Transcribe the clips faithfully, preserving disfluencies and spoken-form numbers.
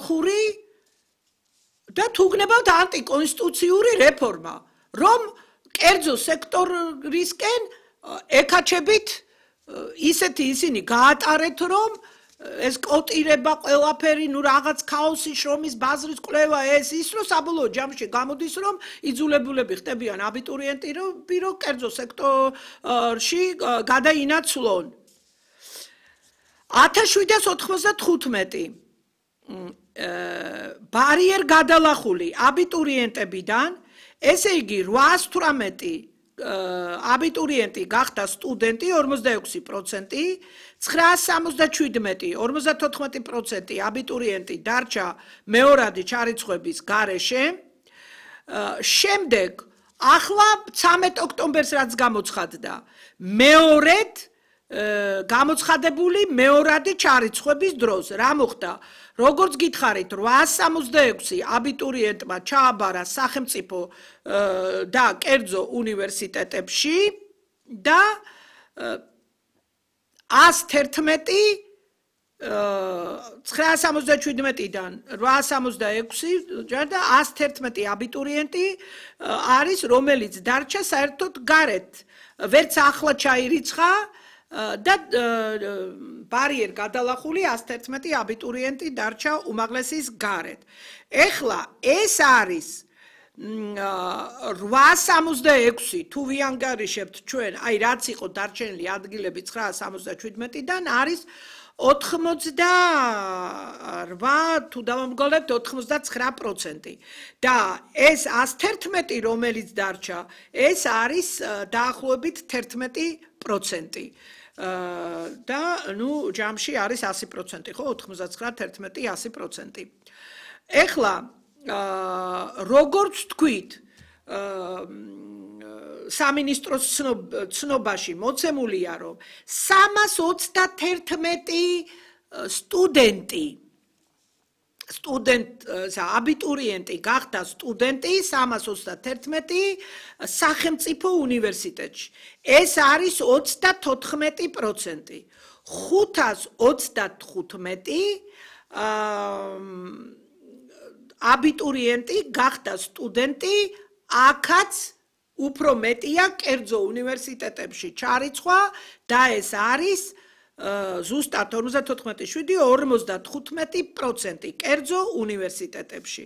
ხალხური და თუ გნებავთ ანტიკონსტიტუციური რეფორმა, რომ კერძო სექტორისკენ ეკაჩებით ისეთი ისინი გაატარეთ, რომ ეს კოტირება ყველაფერი, ნუ რაღაც ქაოსი, შრომის ბაზრის კვლევა ეს ის, რომ საბოლოო ჯამში გამოდის, რომ იძულებულები ხდებიან აბიტურიენტი, რომ ბირო კერძო სექტორში გადაინაცვლონ. ათას შვიდას ოთხმოცდათხუთმეტი ბარიერ გადალახული აბიტურიენტებიდან, ესე იგი რვაას თვრამეტი აბიტურიენტი გახდა სტუდენტი ორმოცდაექვსი პროცენტი, ცხრაას სამოცდაშვიდმეტი ორმოცდათოთხმეტი პროცენტი აბიტურიენტი დარჩა მეორადი ჩარიცხვების გარეშე. შემდეგ ახლა ცამეტ ოქტომბერს რაც გამოცხადდა, მეორედ გამოცხადებული მეორადი ჩარიცხვების დროს რა მოხდა? როგორც გითხარით, რვაას სამოცდაექვსი აბიტურიენტმა ჩააბარა სახელმწიფო და კერძო უნივერსიტეტებში და ას თერთმეტი ცხრაას სამოცდაშვიდმეტიდან რვაას სამოცდაექვსი და ას თერთმეტი აბიტურიენტი არის, რომელიც დარჩა საერთოდ გარეთ, ვერც ახლა ჩაირიცხა და ბარიერ გადალახული ას თერთმეტი აბიტურიენტი დარჩა უმაღლესის გარეთ. ეხლა ეს არის რვაას სამოცდაექვსი თუ ვიანგარიშებთ ჩვენ, აი რაც იყო დარჩენილი ადგილები ცხრაას სამოცდაშვიდმეტიდან არის ოთხმოცდარვა თუ დავამგოლებთ ოთხმოცდაცხრა პროცენტი და ეს ას თერთმეტი რომელიც დარჩა, ეს არის დაახლოებით თერთმეტი პროცენტი. და ნუ ჯამში არის ასი პროცენტი, ხო, ოთხმოცდაცხრა თერთმეტი ასი პროცენტი. ეხლა როგორც თქვით, სამინისტროს ცნობაში მოცემულია, რომ სამას ოცდათერთმეტი სტუდენტი სტუდენტ აბიტურიენტი გახდა სტუდენტი სამას ოცდათერთმეტი სახელმწიფო უნივერსიტეტში. ეს არის ოცდათოთხმეტი პროცენტი. ხუთას ოცდათხუთმეტი აბიტურიენტი გახდა სტუდენტი, აქაც უფრო მეტია კერძო უნივერსიტეტებში ჩარიცხვა და ეს არის ზუსტად ორმოცდათოთხმეტი შვიდი ორმოცდათხუთმეტი პროცენტი კერძო უნივერსიტეტებში.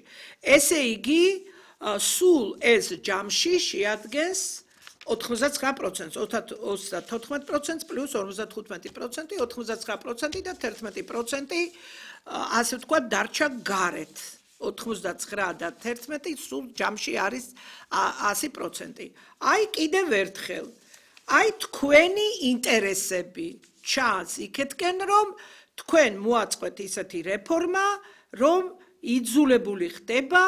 ესე იგი, სულ ეს ჯამში შეადგენს ოთხმოცდაცხრა პროცენტს, ოცდათოთხმეტი პროცენტს პლუს ორმოცდათხუთმეტი პროცენტი, ოთხმოცდაცხრა პროცენტი და თერთმეტი პროცენტი, ასე ვთქვათ, დარჩა გარეთ. ოთხმოცდაცხრა და თერთმეტი სულ ჯამში არის ასი პროცენტი. აი კიდევ ერთხელ, აი თქვენი ინტერესები ჩანს იქეთკენ, რომ თქვენ მოაწყეთ ისეთი რეფორმა, რომ იძულებული ხდება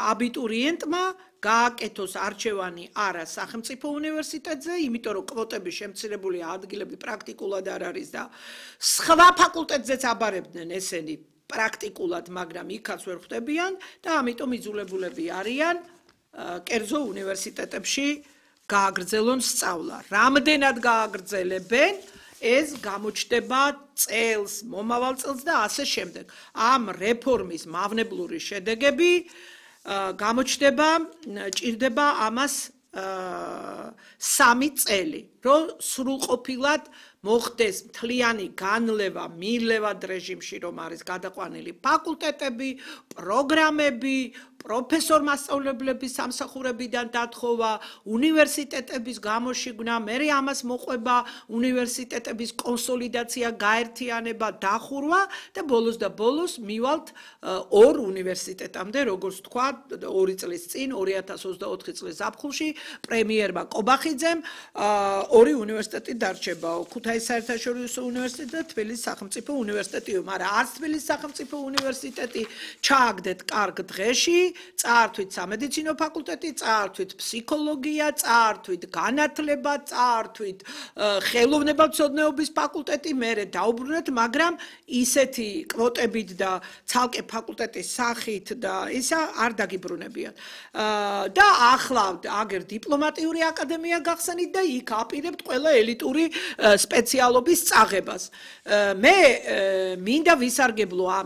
აბიტურიენტმა გააკეთოს არჩევანი არა სახელმწიფო უნივერსიტეტზე, იმიტომ რომ კვოტების შემცირებული ადგილები პრაქტიკულად არ არის და სხვა ფაკულტეტზეც აბარებდნენ ესენი პრაქტიკულად, მაგრამ იქაც ვერ ხვდებიან და ამიტომ იძულებულები არიან კერძო უნივერსიტეტებში გააგრძელონ სწავლა. რამდენად გააგრძელებენ, ეს გამოჩნდება წელს, მომავალ წელს და ასე შემდეგ. ამ რეფორმის მავნებლური შედეგები გამოჩნდება, ჭირდება ამას სამი წელი, რომ სრულყოფილად მოხდეს მთლიანი განლევა მილევად რეჟიმში, რომ არის გადაყვანილი ფაკულტეტები, პროგრამები, პროფესორ-მასწავლებლების სამსახურებიდან დათხოვა, უნივერსიტეტების გამოშიგნა, მერე ამას მოყვება უნივერსიტეტების კონსოლიდაცია, გაერთიანება, დახურვა და ბოლოს და ბოლოს მივალთ ორ უნივერსიტეტამდე, როგორც თქვა, ორი წლის წინ, ორი ათას ოცდაოთხი წლის ზაფხულში, პრემიერმა კობახიძემ ორი უნივერსიტეტი დარჩება, ქუთაისის საერთაშორისო უნივერსიტეტი და თბილისის სახელმწიფო უნივერსიტეტი, მაგრამ არც თბილისის სახელმწიფო უნივერსიტეტი ჩააგდეთ კარგ დღეში, წაართვით სამედიცინო ფაკულტეტი, წაართვით ფსიქოლოგია, წაართვით განათლება, წაართვით ხელოვნებათმცოდნეობის ფაკულტეტი, მერე დაუბრუნეთ, მაგრამ ისეთი კვოტებით და ცალკე ფაკულტეტის სახით და ისა არ დაგიბრუნებიან. და ახლა აგერ დიპლომატიური აკადემია გახსენით და იქ აპირებთ ყველა ელიტური სპეციალობის წაღებას. მე მინდა ვისარგებლო